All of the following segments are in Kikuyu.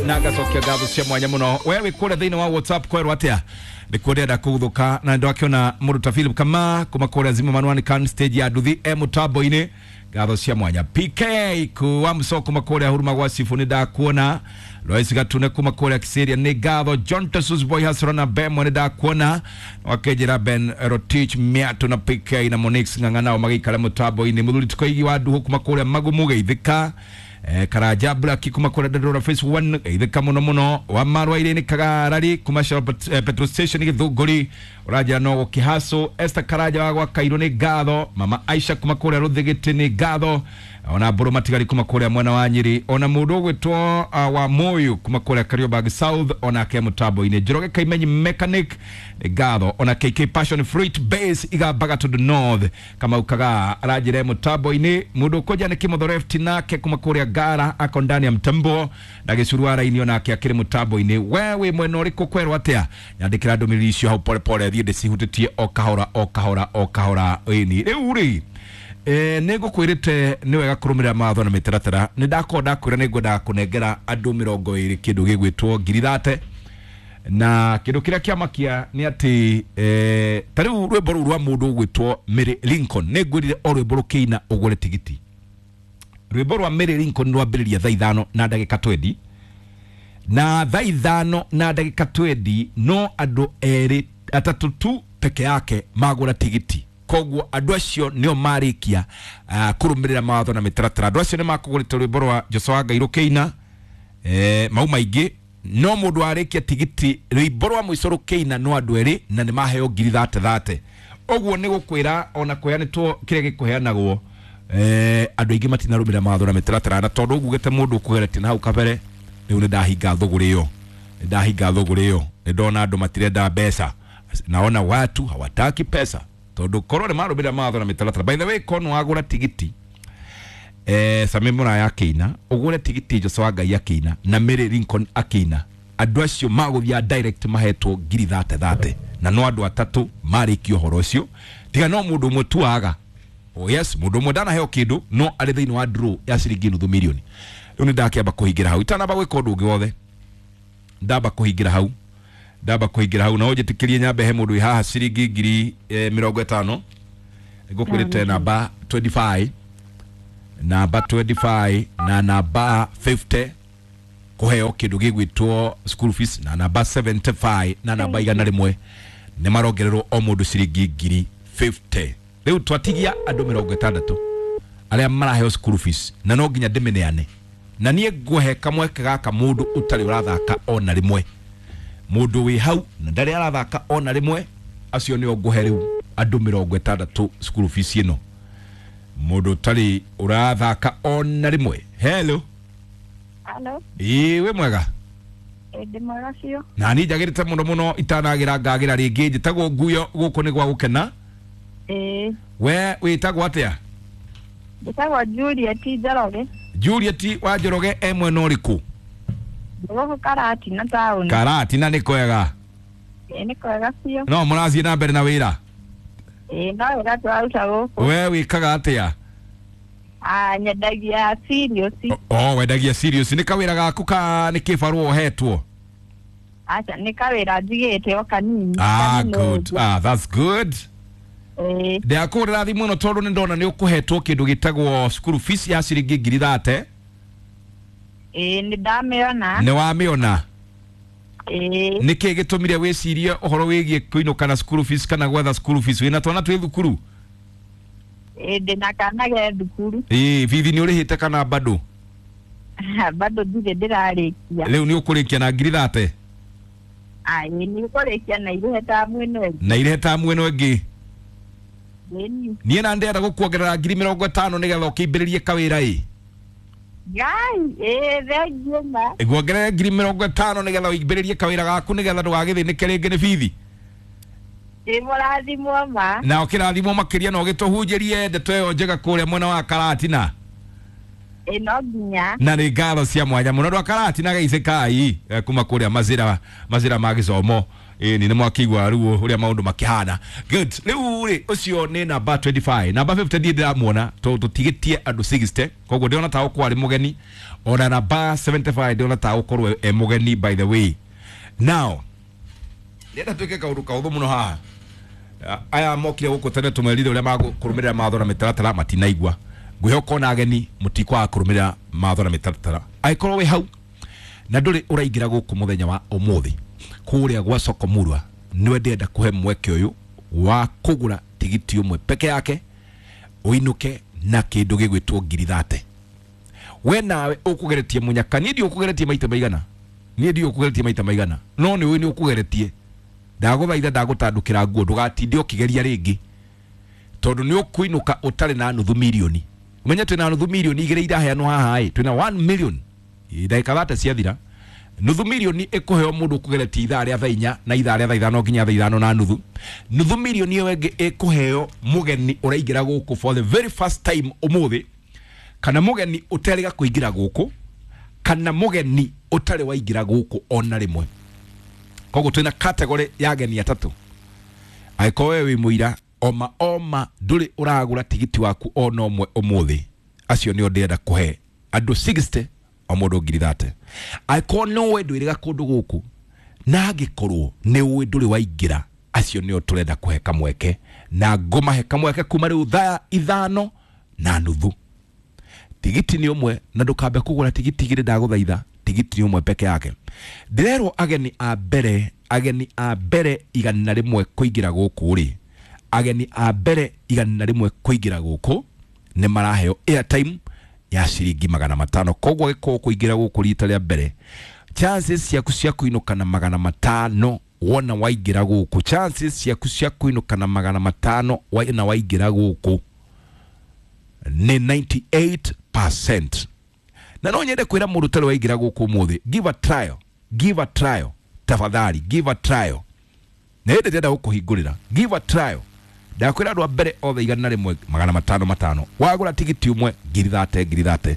Na ngacokia ngatho cia mwanya muno. We wĩ kũrĩa thĩinĩ wa WhatsApp kwerwo atĩa? Nĩ kuo ndĩrenda kũguthũka na ndakĩona mũndũ ta Philip Kama kuma kũrĩa Zimmerman One stage ya nduthi e mũtambo-inĩ. Ngatho cia mwanya PK kuwa mso kuma kũrĩa huruma gwa Sifu nĩ ndakuona. Lois Gatune kuma kũrĩa Kiseria nĩ ngatho. John Tesus Boy Hasra na Bemo nĩ ndakuona. Wakenjera Ben Rotich Miatu na PK na Monix Ng'ang'a nao magĩikara mũtambo-inĩ. Mũthuri Tukoigi wa Nduhu kuma kũrĩa Magumu geithĩka. Karanja Black kuma kũrĩa Dandora Phase 1 geithĩka mũno mũno. Wa Marwaire nĩ Kagarari kuma Shell Petrol Station Gĩthũngũri ũranjĩra no gũkĩhaco. Esther Karanja wa gwa Kairũ nĩ ngatho. Mama Aisha kuma kũrĩa Rũthĩgĩtĩ nĩ ngatho. Ona Mbũrũ Matigari kuma kũrĩa mwena wa Nyĩrĩ. Ona mũndũ ũgwĩtwo wa Moyo kuma kũrĩa Kariobangi South onake mũtambo-inĩ. Njoroge Kaimenyi Mechanic nĩ ngatho. Ona KK Passion Fruit Base Igambaga to the North Kamau Kagaa aranjĩra mũtambo-inĩ. Mũndũ ũkũnja nĩ Kĩmotho Left nake kuma kũrĩa Ngara ako ndani ya mtambo na gĩcuru araini onake akĩrĩ mũtambo-inĩ. We wĩ mwena ũrĩkũ kwerwo atĩa? Nyandĩkĩra ndũmĩrĩri icio hau pole pole thiĩ ndĩcihutĩtie o kahora o kahora o kahora. Ĩni rĩu rĩ nĩ ngũkwĩrĩte nĩ wega kũrũmĩrĩra mawatho na mĩtaratara. Nĩ ndakorwo ndakwĩra nĩ ngwendaga kũnengera andũ 20 kĩndũ gĩgwĩtwo ngiri thate na kĩndũ kĩrĩa kĩamakia nĩ atĩ ta rĩu rwĩmbo rũu rwa mũndũ ũgwĩtwo Mary Lincoln nĩ ngwĩrire o rwĩmbo rũkĩina ũgũre tigiti. Rwĩmbo rwa Mary Lincoln rwambĩrĩria thaa 5 na ndagĩka 20 na thaa 5 na ndagĩka 20 no andũ erĩ atatũ tu peke yake magũra tigiti. Koguo andũ acio nĩo marĩkia kũrũmĩrĩra mawatho na mĩtaratara. Andũ acio nĩ makũgũrĩte rwĩmbo rwa Joshua Ngai rũkĩina mau maingĩ no mũndũ warĩkia tigiti rwĩmbo rwa mũico rũkĩina no andũ erĩ na nĩ maheo ngiri thate thate. Ũguo nĩ gũkwĩra ona kũheanĩtwo kĩrĩa gĩkũheanagwo andũ aingĩ matinarũmĩrĩra mawatho na mĩtaratara na tondũ ngugĩte mũndũ ũkũgeretie na hau kabere rĩu nĩ ndahinga thũgũrĩ ĩyo. Nĩ ndahinga thũgũrĩ ĩyo. Nĩ ndona andũ matirenda mbeca. Naona watu hawataki pesa. Tondũ korwo nĩ marũmĩrĩra mawatho na mĩtaratara. By the way, korwo wagũra tigiti Sami Muraya akĩina ũgũre tigiti Joshua Ngai akĩina na Mary Lincoln akĩina andũ acio magũthiĩ direct mahetwo ngiri thate thate na no andũ atatũ marĩkia ũhoro ũcio tiga no mũndũ ũmwe tu waga. Oh yes, mũndũ ũmwe ndanaheo kĩndũ no arĩ thĩinĩ wa draw ya ciringi nuthu milioni. Rĩu nĩ ndakĩamba kũhingĩra hau itanamba gwĩka ũndũ ũngĩ wothe. Ndamba kũhingĩra hau. Ndamba kũhingĩra hau na ũnjĩtĩkĩrie nyambe he mũndũ wĩ haha ciringi ngiri 50. Ngũkwĩrĩte namba 25 namba 25 na namba 50 kũheo kĩndũ gĩgwĩtwo school fees na namba 75 na namba 100 nĩ marongererwo o mũndũ ciringi ngiri 50. Rĩu twatigia andũ 60 arĩa maraheo school fees na no nginya ndĩmĩneane na niĩ ngũhe kamweke gaka mũndũ ũtarĩ ũrathaka ona rĩmwe. Mũndũ wĩ hau na ndarĩ arathaka ona rĩmwe acio nĩo ngũhe rĩu andũ 60 school fees ĩno. Mũndũ ũtarĩ ũrathaka ona rĩmwe. Hello. Hello. Ĩĩ wĩ mwega? Ndĩ mwega biũ. Na niĩ njagĩrĩte mũno mũno itanagĩra ngagĩra rĩngĩ. Njĩtagwo Nguyo gũkũ nĩ gwa gũkena. Ĩĩ. We wĩtagwo atĩa? Njĩtagwo Juliet Njoroge. Juliet wa Njoroge e mwena ũrĩkũ? Gũkũ Karatina taũni. Karatina nĩ kwega? Ĩĩ nĩ kwega biũ. No mũrathiĩ na mbere na wĩra? Ĩĩ no wĩra tũraruta gũkũ. We wĩkaga atĩa? Nyendagia cereals. Oh, wendagia cereals. Nĩ kawĩra gaku ka nĩ kĩbarũa ũhetwo? Aca, nĩ kawĩra njigĩte o kanini. Ah, good. Ah, that's good. Ĩĩ. Ndakũhũrĩra thimũ ĩno tondũ nĩ ndona nĩ ũkũhetwo kĩndũ gĩtagwo school fees ya ciringi ngiri thate. Ĩĩ nĩ ndamĩona. Nĩ wamĩona? Ĩĩ. Nĩ kĩĩ gĩtũmire wĩcirie ũhoro wĩgiĩ kũinũka na school fees kana gwetha school fees? Wĩna twana twĩ thukuru? Ĩĩ ndĩna kana ge thukuru. Ĩĩ bithi nĩ ũrĩhĩte kana bado? Bado ndirĩ ndĩrarĩkia. Rĩu nĩ ũkũrĩkia na ngiri thate? Ĩĩ nĩ ũkũrĩkia na irĩhe tamu ĩno ĩngĩ. Na irĩhe tamu ĩno ĩngĩ. Ĩni. Niĩ na ndĩrenda gũkuongerera ngiri 50 nĩgetha ũkĩambĩrĩrie kawĩra ĩ. Ngai, ĩĩ thengiũ ma. Nguongerere ngiri 50 nĩgetha ũimbĩrĩrie kawĩra gaku nĩgetha ndũgagĩthĩnĩke rĩngĩ nĩ bithi. Ĩ mũrathimwo ma. Na ũkĩrathimwo makĩria na ũgĩtũhunjĩrie ndeto ĩyo njega kũrĩa mwena wa Karatina. Ĩ no nginya. Na nĩ ngatho cia mwanya mũno andũ a Karatina gaice kai kuma kũrĩa mazira mazira ma gĩcomo. Ĩni nĩ mwakĩigua rĩu ũrĩa maũndũ makĩhana. Good. Rĩu rĩ, ũcio nĩ namba 25. Namba 50 ndiĩ ndĩramuona tondũ tũtigĩtie andũ 60, koguo ndĩrona ta gũkorwo arĩ mũgeni. Ona namba 75 ndĩrona ta gũkorwo e mũgeni. By the way, now ndĩrenda twĩke kaũndũ kahũthũ mũno haha. Aya mokire gũkũ tene tũmerire ũrĩa makũrũmĩrĩra mawatho na mĩtaratara, matinaigua. Ngwĩhoka ona ageni mũtikwaga kũrũmĩrĩra mawatho na mĩtaratara. Angĩkorwo wĩ hau na ndũrĩ ũraingĩra gũkũ mũthenya wa ũmũthĩ kũrĩa gwa Soko Murwa, nĩwe ndĩrenda kũhe mweke ũyũ wa kũgũra tigiti ũmwe peke yake ũinũke na kĩndũ gĩgwĩtwo 30,000. We nawe ũkũgeretie mũnyaka, niĩ ndiũ ũkũgeretie maita maigana, niĩ ndiũ ũkũgeretie maita maigana, no nĩ ũĩ nĩ ũkũgeretie. Ndagũthaitha, ndagũtandũkĩra nguo, ndũgatinde ũkĩgeria rĩngĩ tondũ nĩ ũkũinũka ũtarĩ na nuthu mirioni. Ũmenye twĩna nuthu mirioni igĩrĩ iraheanwo haha ĩ, twĩna 1 million. Ndagĩka 30 ciathira, nuthu mirioni ĩkũheo mũndũ ũkũgeretie ithaa rĩa thaa 4 na ithaa rĩa thaa 5 nginya thaa 5:30. Nuthu mirioni ĩyo ĩngĩ ĩkũheo mũgeni ũraingĩra gũkũ for the very first time ũmũthĩ, kana mũgeni ũterĩga kũingĩra gũkũ, kana mũgeni ũtarĩ waingĩra gũkũ ona rĩmwe. Koguo twĩna category ya ageni atatũ. Angĩkorwo we wĩ mũira oma oma ndũrĩ ũragũra tigiti waku ona ũmwe ũmũthĩ, acio nĩo ndĩrenda kũhe andũ 60, o mũndũ 30,000. Angĩkorwo no we ndwĩrĩga kũndũ gũkũ na angĩkorwo nĩ ũĩ ndũrĩ waingĩra, acio nĩo tũrenda kũhe kamweke, na ngũmahe kamweke kuma rĩu thaa 5:30. Tigiti nĩ ũmwe na ndũkambe kũgũra tigiti igĩrĩ, ndagũthaitha. Tigiti nĩ ũmwe peke yake. Ndĩrerwo ageni a mbere 100 kũingĩra gũkũ rĩ, ageni a mbere 100 kũingĩra gũkũ nĩ maraheo airtime ya ciringi 500. Koguo gĩkorwo kũingĩra gũkũ rita rĩa mbere, chances ciaku cia kũinũka na 500 wona waingĩra gũkũ, chances ciaku cia kũinũka na 500 wona waingĩra gũkũ nĩ 98%. Na no nyende kwĩra mũndũ ũtarĩ waingĩra gũkũ ũmũthĩ, give a trial, give a trial, tafadhali give a trial. Na hĩndĩ ndĩrenda gũkũhingũrĩra, give a trial. Ndakwĩra andũ a mbere othe 100, 500 500. Wagũra tigiti ũmwe, 30,000, 30,000.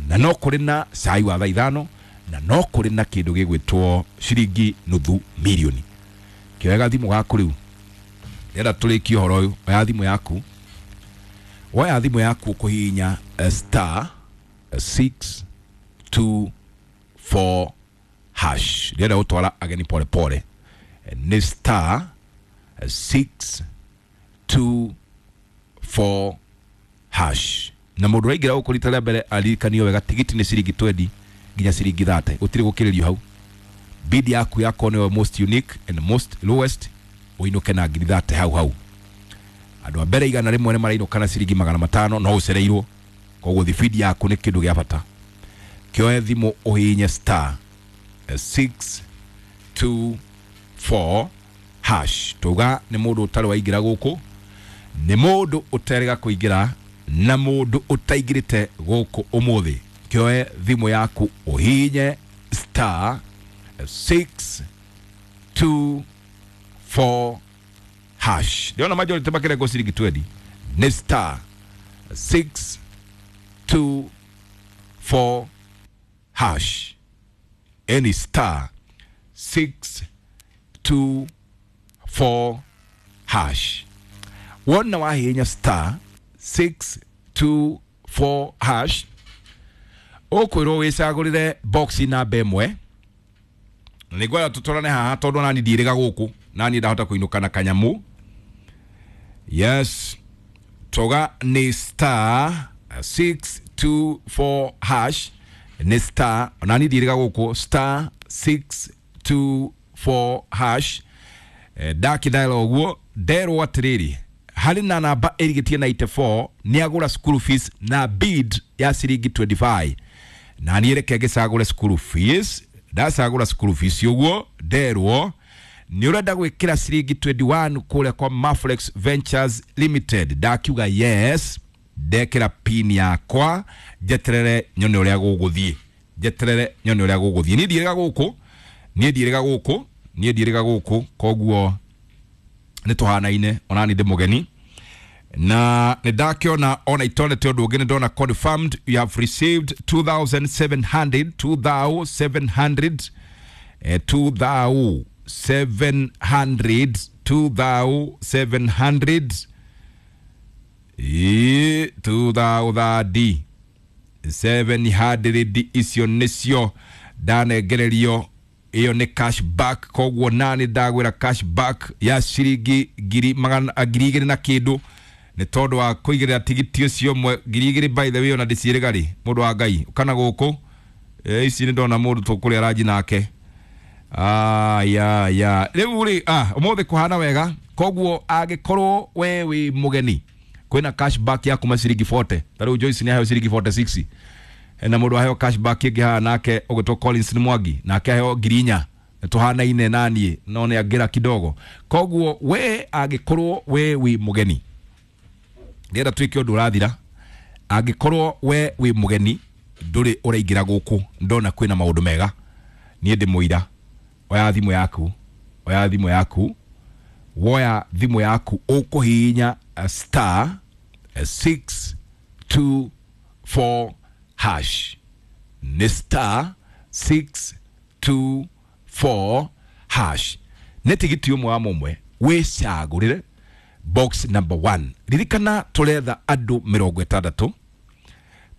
Na no kũrĩ na cai wa thaa 5, na no kũrĩ na kĩndũ gĩgwĩtwo ciringi nuthu mirioni. Kĩoya thimũ gaku rĩu, ndĩrenda tũrĩkie ũhoro ũyũ. Oya thimũ yaku, woya thimũ yaku ũkũhihinya star 624 hash. Ndĩrenda gũtwara ageni pole pole. Nĩ star 624 hash. Na mũndũ ũraingĩra gũkũ rita rĩa mbere aririkanio wega, tigiti nĩ ciringi 20 nginya ciringi 30, gũtirĩ gũkĩrĩrio hau. Bid yaku yakorwo nĩyo most unique and most lowest, ũinũke na 30,000 hau hau. Andũ a mbere 100 nĩ marainũka na ciringi 500, no ũcereirwo. Koguo thibidi yaku nĩ kĩndũ gĩa bata. Kĩoe thimũ ũhihinye star 624 hash. Tuga nĩ mũndũ ũtarĩ waingĩra gũkũ, nĩ mũndũ ũterĩga kũingĩra, na mũndũ ũtaingĩrĩte gũkũ ũmũthĩ. Kĩoe thimũ yaku ũhihinye star 624 hash. Ndĩrona majority makĩrengwo ciringi 20. Nĩ star 624 hash, any star 624 hash. Wona wahihinya star 624 hash, ũkwĩrwo wĩcagũrĩre box namba ĩmwe. Na nĩ ngwenda tũtwarane haha tondũ nani ndiĩrĩga gũkũ, nani ndahota kũinũka na kanyamũ. Yes, toga nĩ star 624 hash, nĩ star, nani ndiĩrĩga gũkũ, star 624 hash. Ndakĩdial ũguo, nderwo atĩrĩrĩ, harĩ na namba ĩrigĩtie 94 nĩ agũra school fees na bid ya ciringi 25. Na niĩ reke ngĩcagũre school fees. Ndacagũra school fees ũguo, nderwo nĩ ũrenda gwĩkĩra ciringi 21 kũrĩa kwa Maflex Ventures Limited. Ndakiuga yes, ndekĩra pin yakwa, njeterere nyone ũrĩa gũgũthiĩ, njeterere nyone ũrĩa gũgũthiĩ. Niĩ ndiĩrĩga gũkũ, niĩ ndiĩrĩga gũkũ, niĩ ndiĩrĩga gũkũ, koguo nĩ tũhanaine, ona niĩ ndĩ mũgeni. Na nĩ ndakĩona ona itonete ũndũ ũngĩ, nĩ ndona confirmed you have received 2700, 2700, 2700, 2700, ĩ 2000 700 icio nĩcio ndanengererio. Iyo nĩ cash back, koguo nani ndagwĩra cash back ya ciringi ngiri magana 2,000 na kĩndũ nĩ tondũ wa kũigĩrĩra tigiti ũcio ũmwe 2,000. By the way, ona ndĩciĩrĩga rĩ, mũndũ wa Ngai kana gũkũ, ici nĩ ndona mũndũ tũkũrĩa ranji nake. Aya ya rĩu rĩ, ũmũthĩ kũhana wega, koguo angĩkorwo we wĩ mũgeni kwĩna cash back ya kuma ciringi 40. Ta rĩu Joyce nĩ aheo ciringi 46, na mũndũ aheo cash back ĩngĩ haha nake ũgwĩtwo Collins nĩ Mwangi, nake aheo 4,000, tũhanaine naniĩ no nĩ angĩra kidogo. Koguo we angĩkorwo we wĩ mũgeni, ndĩrenda twĩke ũndũ ũrathira, angĩkorwo we wĩ mũgeni ndũrĩ ũraingĩra gũkũ, ndona kwĩna maũndũ mega, niĩ ndĩ mũira. Oya thimũ yaku, oya thimũ yaku, woya thimũ yaku, ũkũhihinya star 624 hash, nĩ star 624 hash, nĩ tigiti ũmwe wa mũmwe, wĩcagũrĩre box number 1. Ririkana tũretha andũ 60,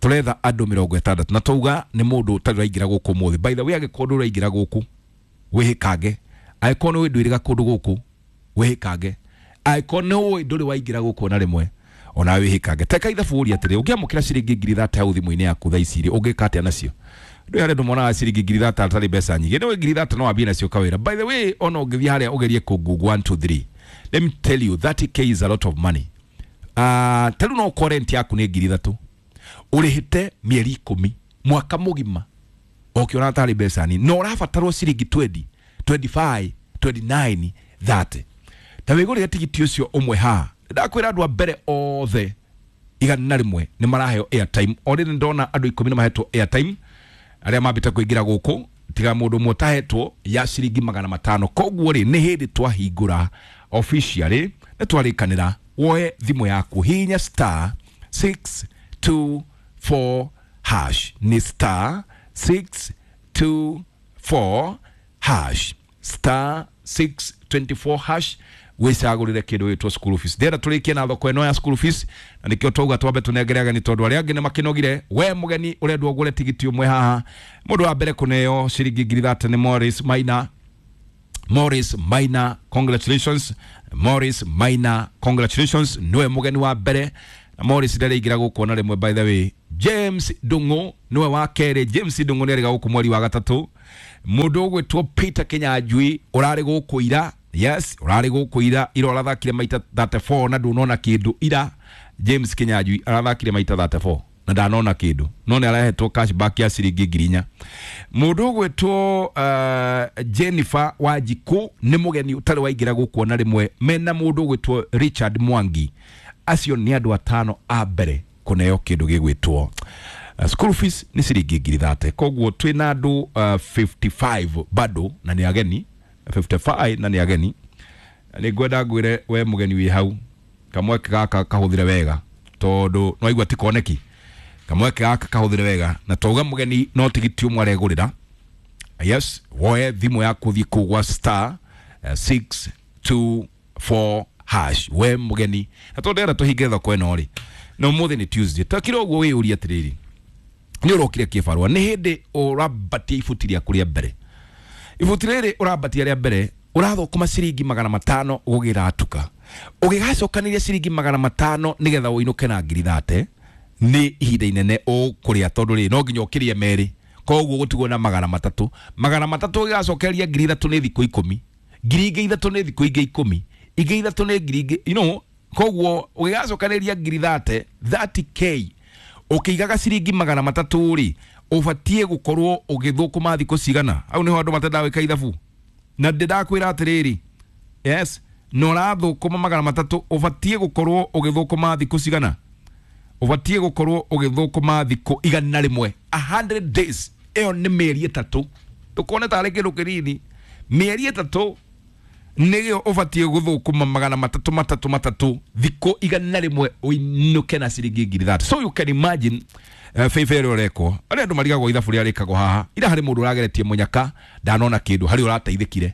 tũretha andũ 60, na twauga nĩ mũndũ ũtarĩ ũraingĩra gũkũ ũmũthĩ. By the way, angĩkorwo ndũrĩ ũraingĩra gũkũ wĩhĩkange, angĩkorwo nĩ ũĩ ndwĩrĩga kũndũ gũkũ wĩhĩkange, angĩkorwo nĩ ũĩ ndũrĩ waingĩra gũkũ na rĩmwe ona wĩhĩkange. Teka ithabu ũrie atĩrĩ, ũngĩamũkĩra ciringi 30,000 hau thimũ-inĩ yaku thaa ici rĩ, ũngĩka atĩa nacio? Ndũĩ harĩa andũ monaga ciringi 30,000 atarĩ mbeca nyingĩ, nĩũĩ 30,000 no wambie nacio kawĩra. By the way, ona ũngĩthiĩ harĩa ũgerie kũ Google 1 2 3, let me tell you, 30K is a lot of money. Ta rĩu no ũkorwo rent yaku nĩ 3,000, ũrĩhĩte mĩeri 10, mwaka mũgima, ũkĩona tarĩ mbeca nini, na ũrabatarwo ciringi 20, 25, 29, 30. Ta wĩgũrĩre tigiti ũcio ũmwe haha. Ndakwĩra andũ a mbere othe 101 nĩ maraheo airtime. Already ndona andũ 10 nĩ mahetwo airtime arĩa mambĩte kũingĩra gũkũ, tiga mũndũ ũmwe ũtahetwo ya ciringi 500. Koguo rĩ, nĩ hĩndĩ twahingũra officially, nĩ twarĩkanĩra woe thimũ yaku, hihinya star 624 hash, nĩ star 624 hash, star 624 hash, wĩcagũrĩre kĩndũ gĩtwo school fees. Ndĩrenda tũrĩkie na thoko ĩno ya school fees, na nĩkĩo twauga twambe tũnengere ageni tondũ arĩa angĩ nĩ makĩnogire. We mũgeni ũrendwo ũgũre tigiti ũmwe haha, mũndũ wa mbere kũneo ciringi 30,000 nĩ Morris Maina. Morris Maina, congratulations. Morris Maina, congratulations, niwe mũgeni wa mbere, na Morris ndarĩingĩra gũkũ ona rĩmwe. By the way, James Ndung'u niwe wa kerĩ. James Ndung'u nĩarĩga gũkũ mweri wa gatatũ. Mũndũ ũgwĩtwo Peter Kinyanjui ũrarĩ gũkũ ira, yes, ũrarĩ gũkũ ira, ira ũrathakire maita 34 na ndũnona kĩndũ ira. James Kinyanjui arathakire maita 34 na ndanona kĩndũ, no nĩ arahetwo cash back ya ciringi 4,000. Mũndũ ũgwĩtwo Jennifer Wanjikũ nĩ mũgeni ũtarĩ waingĩra gũkũ ona rĩmwe, mena mũndũ ũgwĩtwo Richard Mwangi. Acio nĩ andũ atano a mbere kũneo kĩndũ gĩgwĩtwo school fees, nĩ ciringi 30,000. Koguo twĩna andũ 55 bado na nĩ ageni, 55 na nĩ ageni. Nĩ ngwenda ngwĩre we mũgeni wĩ hau, kamweke gaka kahũthĩre wega, tondũ nĩwaigua ti koneki. Kamweke gaka kahũthĩre wega, na twauga mũgeni no tigiti ũmwe aregũrĩra. Yes, woe thimũ yaku ũthiĩ kũu gwa star 624 hash, we mũgeni. Na tondũ ndĩrenda tũhinge thoko ĩno rĩ, na ũmũthĩ nĩ Tuesday, takira ũguo wĩyũrie atĩrĩrĩ, nĩ ũrokire kĩbarũa, nĩ hĩndĩ ũrambatia ibuti rĩaku rĩa mbere. Ibuti rĩrĩ ũrambatia rĩa mbere, ũrathũkũma ciringi 500 gũgĩratuka, ũgĩgacokanĩria ciringi 500 nĩgetha ũinũke na 30,000, nĩ ihinda inene ũkũrĩa, tondũ rĩ no nginya ũkĩrĩe merĩ, koguo gũtigwo na 300. 300 ũgĩgacokeria 3,000 nĩ thikũ 10, 3,000 nĩ thikũ ingĩ 10, ingĩ 3 nĩ ngiri ingĩ, you know, koguo ũgĩgacokanĩria 30,000, 30K, ũkĩigaga ciringi 300 rĩ, ũbatiĩ gũkorwo ũgĩthũkũma thikũ cigana? Hau nĩho andũ matendaga gwĩka ithabu, na ndĩrakwĩra atĩrĩrĩ, yes, na ũrathũkũma 300, ũbatiĩ gũkorwo ũgĩthũkũma thikũ cigana? Ũbatiĩ gũkorwo ũgĩthũkũma thikũ 100, 100 days. Ĩyo nĩ mĩeri 3, ndũkone tarĩ kĩndũ kĩnini, mĩeri 3. Nĩgĩo ũbatiĩ gũthũkũma 300 3 3 thikũ 100 ũinũke na ciringi 30,000. So you can imagine favor ĩrĩa ũrekwo. Arĩa andũ marigagwo ithabu rĩrĩa rĩkagwo haha, ira harĩ mũndũ ũrageretie mũnyaka ndanona kĩndũ, harĩ ũrateithĩkire.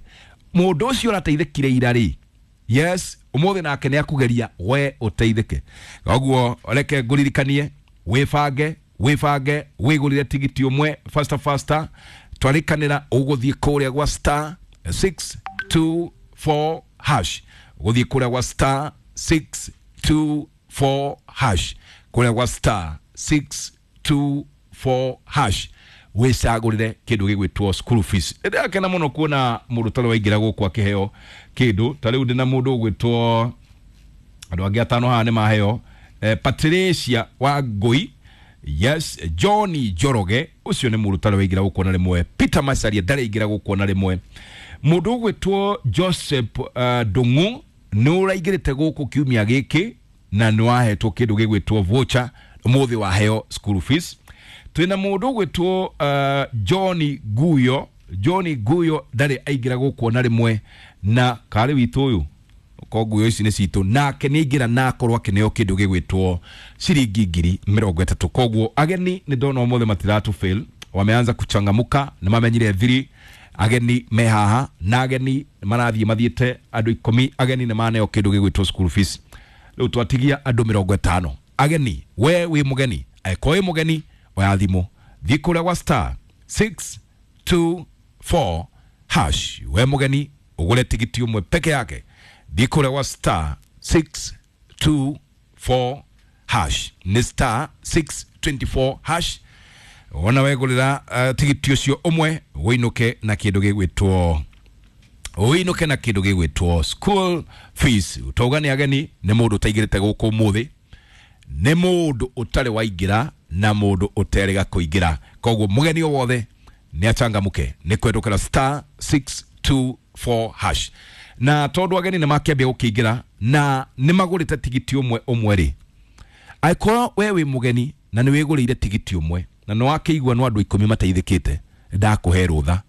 Mũndũ ũcio ũrateithĩkire ira rĩ, yes, ũmũthĩ nake nĩ akũgeria we ũteithĩke. Koguo reke ngũririkanie wĩbange wĩbange wĩgũrĩre tigiti ũmwe faster faster. Twarĩkanĩra ũgũthiĩ kũrĩa gwa star 624 hash, ũgũthiĩ kũrĩa gwa star 624 hash, kũrĩa gwa star 624 hash wĩcagũrĩre kĩndũ gĩgwĩtwo school fees. Ndĩrakena mũno kuona mũndũ tarĩ waingĩra gũkũ akĩheo kĩndũ. Ta rĩu ndĩna mũndũ ũgwĩtwo, andũ angĩ atano haha nĩ maheo, Patricia wa Ngui, yes, Johnny Njoroge ũcio nĩ mũndũ tarĩ waingĩra gũkũ na rĩmwe. Peter Macharia ndarĩ aingĩra gũkũ na rĩmwe. Mũndũ ũgwĩtwo Joseph Ndung'u nĩ ũraingĩrĩte gũkũ kiumia gĩkĩ na nĩ wahetwo kĩndũ gĩgwĩtwo voucher, ũmũthĩ waheo school fees. Twĩna mũndũ ũgwĩtwo John Guyo. John Guyo ndarĩ aingĩra gũkũ na rĩmwe, na karĩ witũ ũyũ ko nguyo ici nĩ citũ, nake nĩ aingĩra na akorwo akĩneo kĩndũ gĩgwĩtwo ciringi 30,000. Koguo ageni nĩ ndona ũmũthĩ matiratu fail, wameanza kuchangamuka, nĩ mamenyire thiri. Ageni me haha na ageni marathiĩ mathiĩte andũ 10, ageni nĩ maneo kĩndũ gĩgwĩtwo school fees. Rĩu twatigia andũ 50 ageni. We wĩ mũgeni, angĩkorwo wĩ mũgeni oya thimũ, thiĩ kũrĩa gwa star 624 hash. We mũgeni ũgũre tigiti ũmwe peke yake, thiĩ kũrĩa gwa star 624 hash, nĩ star 624 hash. Wona wegũrĩra tigiti ũcio ũmwe ũinũke na kĩndũ gĩgwĩtwo, ũinũke na kĩndũ gĩgwĩtwo school fees. Tauga nĩ ageni, nĩ mũndũ ũtaingĩrĩte gũkũ ũmũthĩ, nĩ mũndũ ũtarĩ waingĩra na mũndũ ũterĩga kũingĩra. Koguo mũgeni o wothe nĩ achangamũke nĩ kwendũkĩra star 624 hash. Na tondũ ageni nĩ makĩambia gũkĩingĩra na nĩ magũrĩte tigiti ũmwe ũmwe rĩ, angĩkorwo we wĩ mũgeni na nĩ wĩgũrĩire tigiti ũmwe na nĩ wakĩigua no andũ 10 mateithĩkĩte, ndakũhe rũtha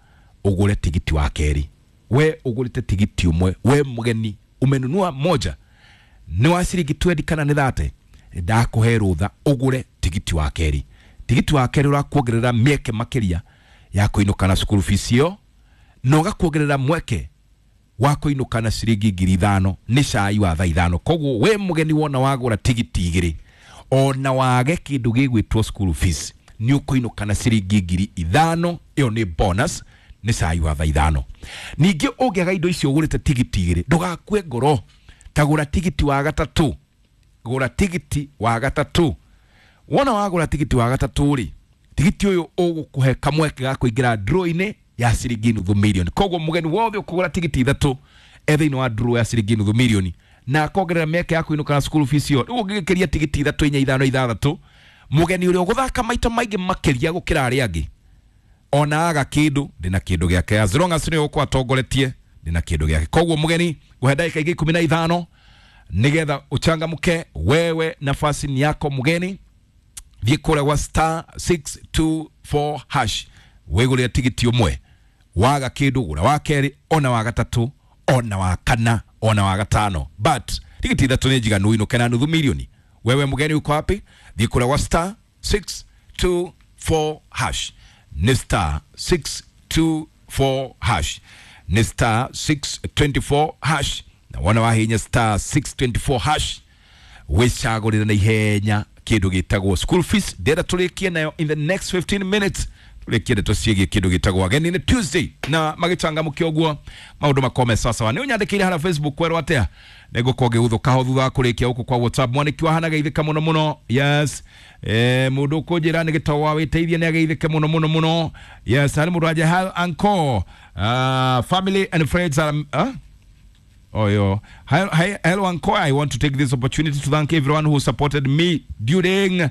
ũgũre tigiti wa kerĩ. We ũgũrĩte tigiti ũmwe, we mũgeni umenunua moja nĩ wa ciringi 20 kana nĩ 30, ndakũhe rũtha ũgũre tigiti wa kerĩ. Tigiti wa kerĩ ũrakuongerera mĩeke makĩria ya kũinũka na school fees ĩyo, na ũgakuongerera mweke wa kũinũka na ciringi 5,000 nĩ cai wa thaa 5. Koguo we mũgeni wona wagũra tigiti 2 ona wage kĩndũ gĩgwĩtwo school fees, nĩ ũkũinũka na ciringi 5,000. Ĩyo nĩ bonus, nĩ cai wa thaa 5. Ningĩ ũngĩaga indo icio ũgũrĩte tigiti 2, ndũgakue ngoro, ta gũra tigiti wa gatatũ. Gũra tigiti wa gatatũ. Wona wagũra tigiti wa gatatũ rĩ, tigiti ũyũ ũgũkũhe kamweke ga kũingĩra draw-inĩ ya ciringi 500,000. Koguo mũgeni wothe ũkũgũra tigiti 3 e thĩinĩ wa draw ya ciringi 500,000 na akongerera mĩeke ya kũinũka na school fees ĩyo. Rĩu ũngĩgĩkĩria tigiti 3 4 5 6, mũgeni ũrĩa ũgũthaka maita maingĩ makĩria gũkĩra arĩa angĩ, ona aga kĩndũ, ndĩna kĩndũ gĩake. As long as nĩwe ũkũ atongoretie, ndĩna kĩndũ gĩake. Koguo mũgeni ngũhe ndagĩka ingĩ 15 nĩgetha ũchangamke. Wewe nafasi ni yako mũgeni, thiĩ kũrĩa gwa star 624 hash wĩgũrĩre tigiti ũmwe, waga kĩndũ gũra wa kerĩ, ona wa gatatũ, ona wa kana, ona wa gatano, but tigiti 3 nĩ njiganu ũinũke na 500,000. Wewe mũgeni uko wapi? Thiĩ kũrĩa gwa star 624 hash, nĩ star 624 hash, nĩ star 624 hash. Na wona wahinya star 624 hash wĩcagũrĩre na ihenya kĩndũ gĩtagwo school fees. Ndĩrenda tũrĩkie nayo in the next 15 minutes, tũrĩkie ndeto ciĩgiĩ kĩndũ gĩtagwo ageni. Nĩ Tuesday na magĩcangamũke ũguo maũndũ makome sawasawa. Nĩ ũnyandĩkĩire harĩa Facebook kwerwo atĩa, nĩngũkorwo ngĩgũthũka ho thutha wa kũrĩkia gũkũ kwa WhatsApp. Mwanĩki wa hana geithĩka mũno mũno, yes. Mũndũ ũkũnjĩra nĩ gĩtau wa wĩteithie nĩ ageithĩke mũno mũno mũno, yes. Harĩ mũndũ anje hi uncle, family and friends are, Oh, yo. Hi, hi, hello, Uncle. I want to take this opportunity to thank everyone who supported me during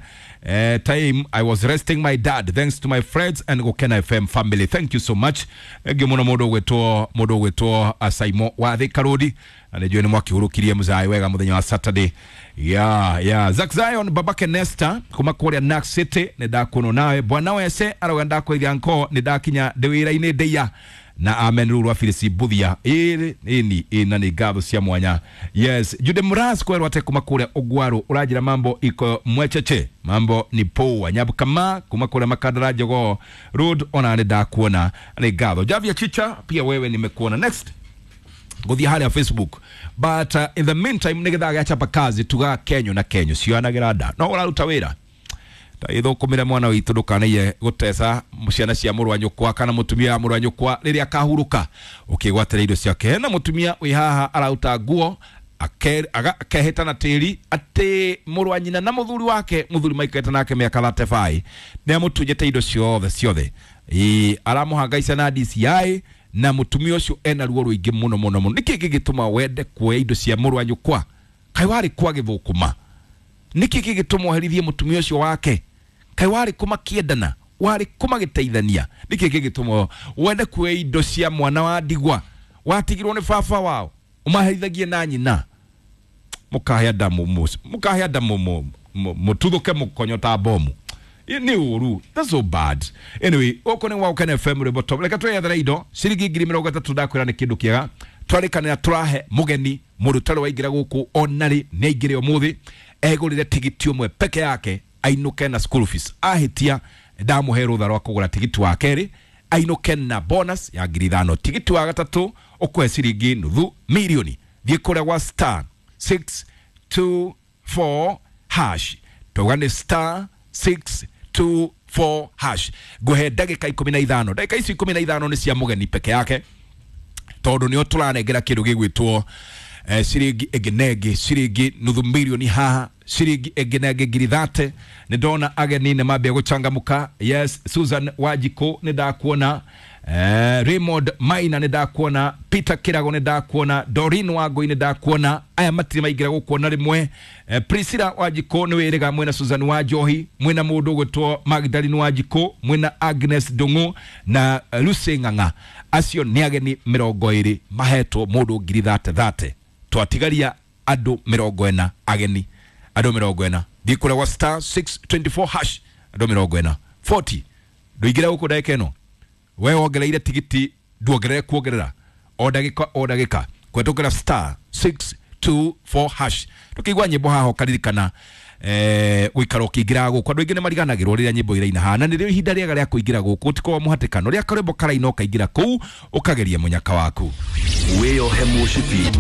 time I was resting my dad. Thanks to my friends and Gukena FM family. Thank you so much. Egi muno mudo gwetwo Saimo wa Thika Road. Na nĩnjũĩ nĩ mwakĩhurũkirie mũzai wega mũthenya wa Saturday. Yeah, yeah. Zack Zion babake Nesta kuma kũrĩa Nax City nĩ ndakuonwo nawe. Bwana wese arauga ndakwĩria Uncle nĩ ndakinya ndĩ wĩra-inĩ ndĩia. Na amen ruru wa Phyllis Mbuthia ĩrĩ ĩni ĩna nĩ ngatho cia mwanya. Yes, Jude Muras kwerwo ate kuma kũrĩa Ũgwaru ũranjĩra mambo iko mwecheche, mambo ni poa. Nyabukama kuma kũrĩa Makandara Jogoo Road ona nĩ ndakuona, nĩ ngatho. Javia Chicha pia wewe nimekuona. Next guthia haria Facebook, but in the meantime nä gä gä chapa kazi tuga kenyo na kenyo cionagä nda no å raruta wä ra ithũkũmĩre mwana witũ ndũkanaiye gũteca ciana cia mũrũ wa nyũkwa kana mũtumia wa mũrũ wa nyũkwa rĩrĩa akahurũka ũkĩgwatĩra indo ciake. Hena mũtumia wĩ haha araruta nguo akehĩta na tĩri atĩ mũrũ wa nyina na mũthuri wake, mũthuri maikarĩte nake mĩaka 35, nĩ amũtunyĩte indo ciothe ciothe. Ĩĩ, aramũhangaica na DCI na mũtumia ũcio ena ruo rũingĩ mũno mũno mũno. Nĩkĩ gĩgĩtũma wende kuoya indo cia mũrũ wa nyũkwa? Kaĩ warĩ kwa gĩthũkũma? Nĩkĩ gĩgĩtũma ũherithie mũtumia ũcio wake? Kaĩ warĩ kũmakĩendana, warĩ kũmagĩteithania? Nĩkĩ gĩgĩtũma wende kuoya indo cia mwana wa ndigwa watigirwo nĩ baba wao ũmaherithagie na nyina? Mũkahĩa ndamu, mũkahĩa ndamu, mũtuthũke mũkonyo ta bomu. Nĩ ũru, that's so bad. Anyway, gũkũ nĩ gwa FM rwĩmbo top. Reke twĩyethere indo ciringi 30,000, ndakwĩra nĩ kĩndũ kĩega. Twarĩkanĩra tũrahe mũgeni mũndũ ũtarĩ waingĩra gũkũ onarĩ nĩ aingĩre ũmũthĩ egũrĩre tigiti ũmwe peke yake ainũke na school fees. Ahĩtia ndamũhe rũtha rwa kũgũra tigiti wa kerĩ ainũke na bonus ya 5,000. Tigiti wa gatatũ ũkũhe ciringi 500,000. Thiĩ kũrĩa gwa star 624 hash, tauga nĩ star 624 hash. Ngũhe ndagĩka 15. Ndagĩka ici 15 nĩ cia mũgeni peke yake tondũ nĩo tũranengera kĩndũ gĩgwĩtwo ciringi ĩngĩ na ĩngĩ, ciringi 500,000 haha, ciringi ĩngĩ na ĩngĩ 30,000. Nĩ ndona ageni nĩ mambia gũchangamũka. Yes, Susan Wanjikũ nĩ ndakuona, Raymond Maina nĩ ndakuona, Peter Kirago nĩ ndakuona, Doreen Wangũi nĩ ndakuona. Aya matirĩ maingĩra gũkuona rĩmwe. Priscilla Wanjikũ nĩ wĩrĩga mwĩna Susan Wanjohi, mwĩna mũndũ ũgwĩtwo Magdalene Wanjikũ, mwĩna Agnes Ndung'u na Lucy Ng'ang'a. Acio nĩ ageni 20 mahetwo mũndũ 30,000. Twatigaria andũ 40 ageni, andũ 40. Thiĩ kũrĩa gwa star 624 hash, andũ 40 40. Ndũingĩre gũkũ ndagĩka ĩno we wongereire tigiti, nduongerere kuongerera o ndagĩka o ndagĩka kũhetũkĩra star 624 hash. Tũkĩigua nyĩmbo haha ũkaririkana gũikara ũkĩingĩraga gũkũ. Andũ aingĩ nĩ mariganagĩrwo rĩrĩa nyĩmbo iraina haha, na nĩrĩo ihinda rĩega rĩa kũingĩra gũkũ, gũtikoragwo mũhatĩkano. Rĩrĩa karwĩmbo karaina ũkaingĩra kũu ũkageria mũnyaka waku. Wĩyohe mũcibi.